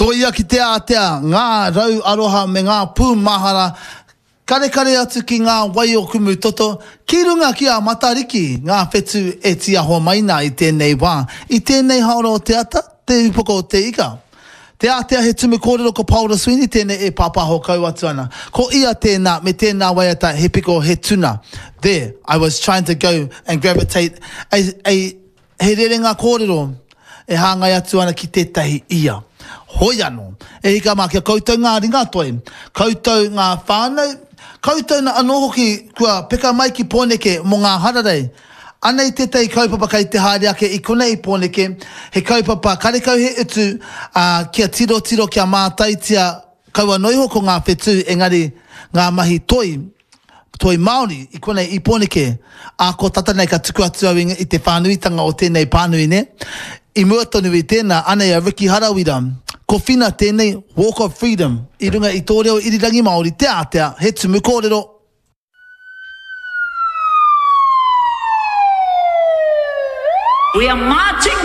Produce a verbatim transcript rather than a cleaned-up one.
Tōia ki te ātea ngā rau aroha me ngā pūmahara karekare atu ki ngā wai o Kumutoto, ki runga ki a Matariki, ngā whetū e tīaho mai nā i tēnei wā, i tēnei haora o te ata, te upoko o te ika. Te ātea he tumu kōrero ko Paora Sweeney tēnei e pāpāho kau atu ana. Ko ia tēnā me tēnā waiata he piko he tuna. There, I was trying to go and gravitate a, a, he rerenga kōrero e hāngai atu ana ki tētahi ia. Hoi anō, e hika mā kia koutou ngā ringatoi, koutou ngā whānau, koutou na anō hoki kua peka mai ki Pōneke mō ngā hararei. Anei tētahi kaupapa kei te haere ake i konei i Pōneke, he kaupapa karekau he utu, ā, kia tirotiro, kia mātaitia kaua noa iho ko ngā whetū engari ngā mahi toi, toi Māori i konei i Pōneke, ā, ko tata nei ka tuku atu au i te whānuitanga o tēnei pānui nē. I mua tonu i tēnā, anei a Ricky Harawira, ko Whina tēnei, Walk of Freedom, i runga i tō reo irirangi Māori, Te Ātea, he tumu kōrero. We are marching